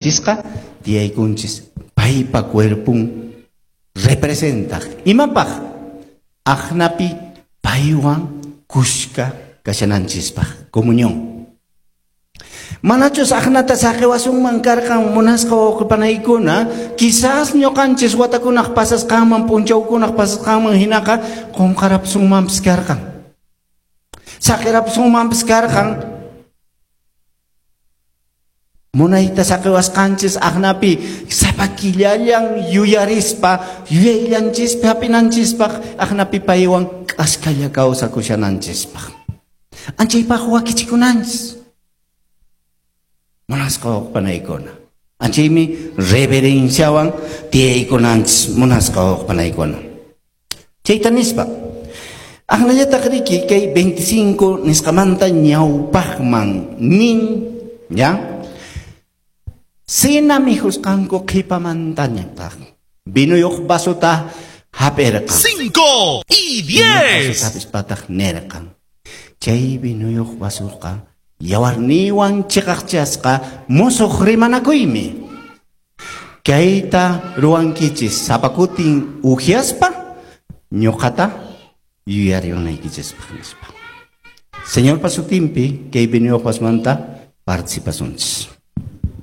Chisqa tiyaykunchis paypa cuerpun representaq. Imapaq? Aqnapi paywan kushka kashananchispaq. Comunión. Manachus aqnata saqiwasunman karqan munasqa wawqipanaykuna, quizás ñuqanchis watakunaq pasasqanman, p'unchawkunaq pasasqanman hinaqa qunqarapusunmanpis karqan. Saqirapusunmanpis karqan. Munayta saqiwasqanchis aqnapi sapa killallan yuyarispa yuyayllanchispaq hap'inanchispaq aqnapi paywan k'askalla kawsakushananchispaq. Anchaypaq wakichikunanchis. Munasqa wawqipanaykuna. Anchaymi reverenciawan tiyaykunanchis munasqa wawqipanaykuna. Chayta nispa, aqnallataq riki kay 25 nisqamanta ñawpaqman nin, ya? Cena mikhusqanku qhipamantañataq vinuyuq vasota hap'irqan. 5 y 10. Hapispataq nirqan. Chay vinuyuq vasoqa yawarniywan chiqaqchasqa musuq rimanakuymi. Kayta ruwankichis sapa kutin uhyaspa ñuqata yuyariwanaykichispaq nispa. Señorpa sutinpi kay vinuyuq vasomanta participasunchis.